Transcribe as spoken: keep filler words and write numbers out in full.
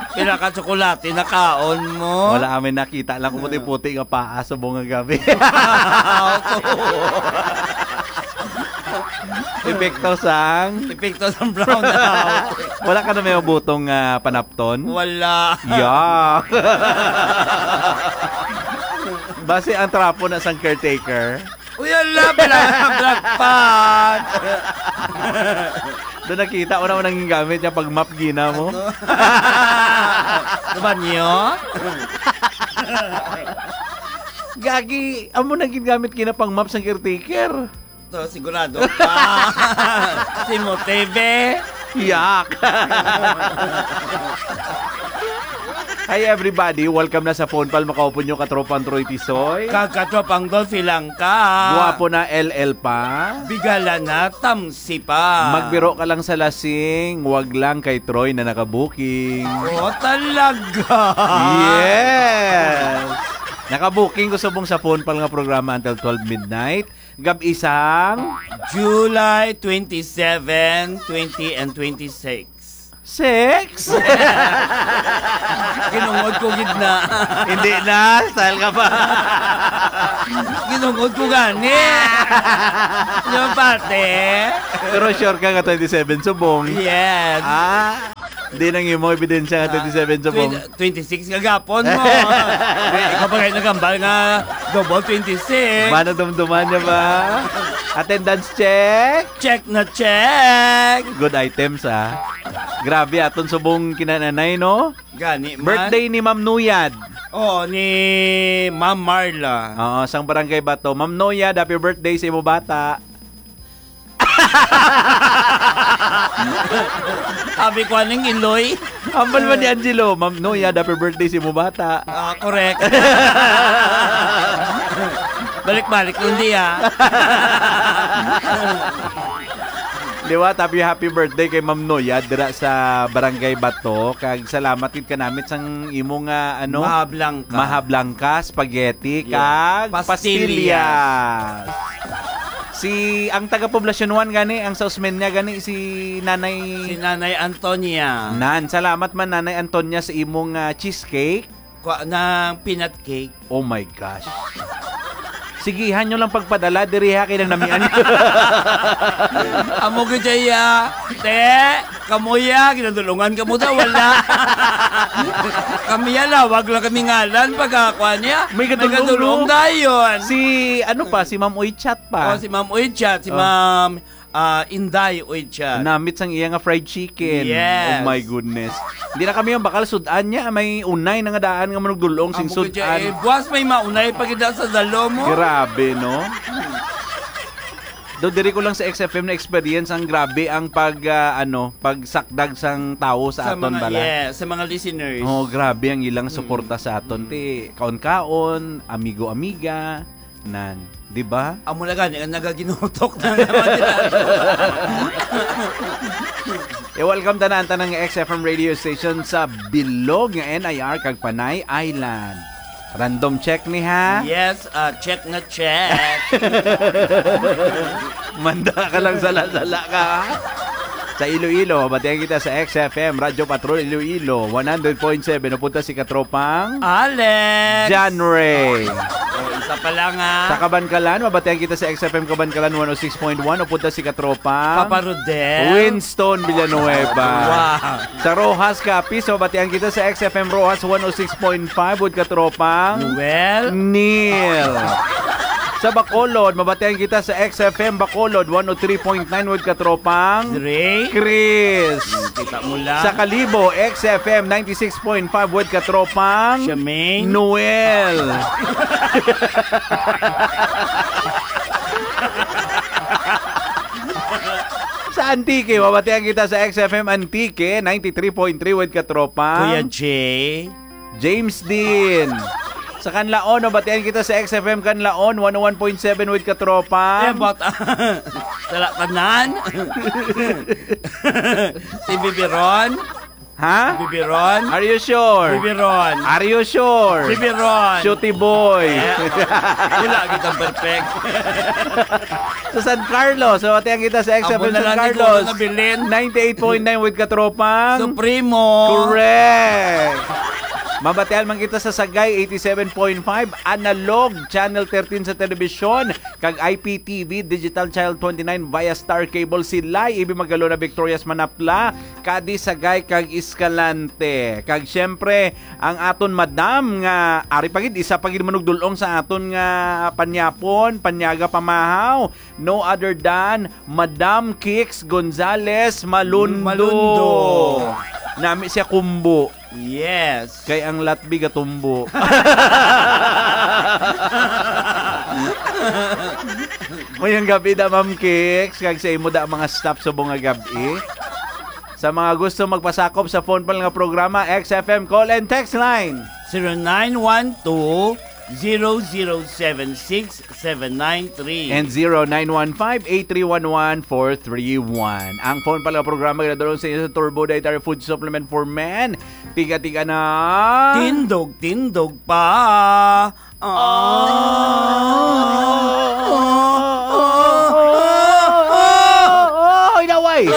Pila ka tsokolate nakaon mo? Wala kami nakita lang kung puti-puti nga paa subong nga gabi. Ako. Epekto sang Epekto sang brownout. Wala ka na may mabutong, ah, panapton? Wala. Yeah. Basi ang trapo na sang caretaker. Uy, ala, bla-, black pot. Doon nakita ko naman ang gamit niya pag map gina mo. Ano? Ano ba niyo? Gagi, amo na gid gamit gina pang map sang caretaker. To, sigurado ka. Si Motebe. Yak! Hi everybody, welcome na sa Phone Pal. Makaupon nyo katropang Troy Tisoy. Kag katropang Dolphy lang ka. Guwapo na, L L pa. Bigala na, tamsi pa. Magbiro ka lang sa lasing, wag lang kay Troy na nakabuking. Oh, talaga? Yes! Nakabuking ko subong sa Phone Pal nga programa until twelve midnight. Gab-i sang July twenty-seven, twenty, and twenty-six. Six? Ginungod ko gid na. Hindi na, style ka pa. Ginungod ko gani. Yung parte. Pero sure ka nga twenty-seven subong? Yes. Ah, di nang imo ebidensya nga Ah, twenty-seven subong. twenty, twenty-six nga gapon mo. Eh, ikaw pa kayo nagambal nga double twenty-six. Manadumduman niya ba? Attendance check. Check na check. Good items, ah. Grabe, aton subong kinananay, no? Gani man. Birthday ni Ma'am Nuyad. Oh, ni Ma'am Marla. Oo, sang Barangay Bato. Ma'am Nuyad, happy birthday sa imo bata. Abi ko aning iloy. Ambal man ni Angelo, Ma'am Noya, happy birthday sa imo bata. Ah, correct. Balik-balik lang di, ah. Di ba? Happy, happy birthday kay Ma'am Noya dira sa Barangay Bato. Kag salamat gid kanamit sang imo nga, ano, Mahablangkas. Mahablangkas, spaghetti, Yeah. kag Pastillas. pastillas. Si, ang taga Poblacion one gani, ang sa Osmeña gani, si Nanay Si Nanay Antonia. Nan, salamat man, Nanay Antonia, sa imong, ah, cheesecake. Kwa, ng peanut cake. Oh my gosh. Sigihan nyo lang pagpadala, diri ha, kay nang namian. Amo gid siya, te. Kamuya, ginadulungan ka mo daw, wala. Kami yan, lawag lang kami ngalan, pagkakuha niya. May gadulong, gadulong no? dayon. Si, ano pa, si Ma'am Uy Chat pa. Oh, si Ma'am Uy Chat, si Oh. Ma'am, ah, Inday Uy Chat. Namit sang iya nga fried chicken. Yes. Oh my goodness. Hindi na kami yung bakal sudan niya, may unay na nga daan nga manugdulong sing Amo ko dyan, sudan. eh, buwas may maunay pa gid sa dalo mo. Grabe, no? Do diri ko lang sa X F M na experience ang grabe ang pag, ah, ano, pagsakdag sang tawo sa Sa aton mga, bala. yes, sa mga listeners. Oh, grabe ang ilang Mm. suporta sa aton. Mm. Ti, kaon-kaon, amigo-amiga, nan, di ba? Amo na gani, ang nagaginutok na naman nila. Eh, welcome tanan, tanang X F M radio station sa bilog nga N I R kag Panay Island. Random check ni, ha? Yes, ah, check na check. Manda ka lang, sala-sala ka, ha? Sa Iloilo, mabatian kita sa X F M, Radyo Patrol Iloilo, one hundred point seven, napunta si Katropang Alex. John Ray. Oh, isa pa lang, ha? Sa Kabankalan, mabatian kita sa X F M Kabankalan one oh six point one, napunta si Katropang Papa Rodel. Winston Villanueva. Wow. Sa Roxas, Capiz, mabatian kita sa X F M Roxas one oh six point five with Katropang Noel. Neil. Sa Bacolod, mabatian kita sa X F M Bacolod one oh three point nine with Katropang Dre. Chris. Kita mo lang. Sa Kalibo, X F M ninety-six point five with Katropang Charmaine. Noel. Sa Antique, mabatian kita sa X F M Antique, ninety-three point three with Katropang Kuya J. James Dean. Sa Canlaon, mabatian kita sa X F M Canlaon, one oh one point seven with Katropang Eh, but, sala tanan. Si Bibiron. Ha? Bibiron? Are you sure? Bibiron. Are you sure? Bibiron. Shooty boy. Wala kitang perfect. Sa San Carlos. So, batian kita sa X F M Amo na San lang Carlos. Siguro nabilin. Ninety-eight point nine with Katropang. Supremo. Correct. Mabatian man kita sa Sagay, eighty-seven point five, analog, channel thirteen sa telebisyon, kag I P T V, Digital Channel twenty-nine via Star Cable, Silay, Ibi Magalona, Victorias, Manapla, Cadiz, Sagay, kag Escalante. Kag siyempre, ang aton madam nga, ari pa gid, isa pa gid manugdulong sa aton nga panyapon, panyaga pamahaw, no other than Madam Kix Gonzales Malundo. Malundo. Nami siya kumbo. Yes. Kay ang latbi gatumbo. Mayong gabi da, Ma'am Kix, kag sa imo da mga staff subong nga gabi. Sa mga gusto magpasakop sa phone pala nga programa, X F M call and text line. Zero nine one two, zero zero seven six seven nine three. And zero nine one five, eight three one one, four three one. Ang phone pala nga programa ginadulong sa inyo sa Turbo Dietary Food Supplement for Men. Tiga-tiga na. Tindog, tindog pa. Oh, inaway.